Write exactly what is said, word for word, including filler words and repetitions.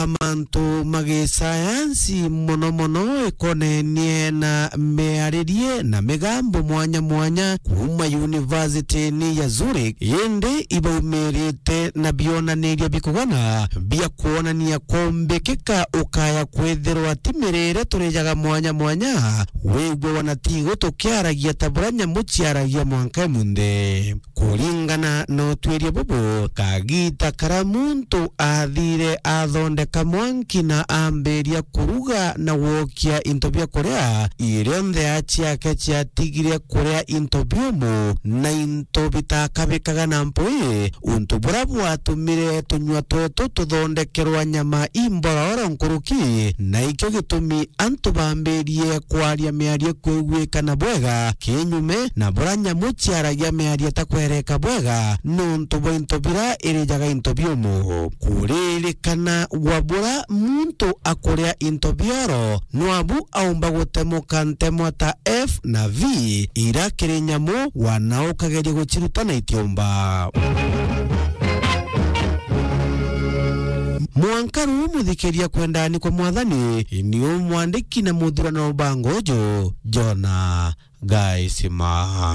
mantu ma gisayansi, mono mono ikonenie na miaririe na migambo mwanya mwanya kuuma university-ini ya Zurich, indi ibaumirite na bionaniria bikugana bia kwonania kumbikika ukaya kwithirwa ti mirire turijaga mwanya mwanya, wigwe wana tigu tukiaragia ta buria nyamu ciaragia mwanka imunthi. Kuringana na utwiria bubu, kagita karia muntu athire athondeka mwanki na ambiria kuruga na gwokia into bia kuria, irionthe ya ciake ciatigire kuria into biumu na into bitakabikaga na mpui, untu buria bwatumire tunyua twetu tuthondekerwa nyama imbororo nkuruki, na ikio gitumi antu bambirie kwaria miario kwiguikana bwega kinyume na buria nyamu ciaragia miario itakwereka bwega nontu bwa into biria irijaga into biumu. Kuririkana gwa buria muntu akuria into bioro, nwabu aumba gutemuka ntemwa ta F na V, ira kiri nyamu wana ukageria guciruta na itiumba. Mwanka ruu muthikiria kwendani kwa Mwathani, ni umwandiki na muthurano wa bangojo, Jona Gaisima.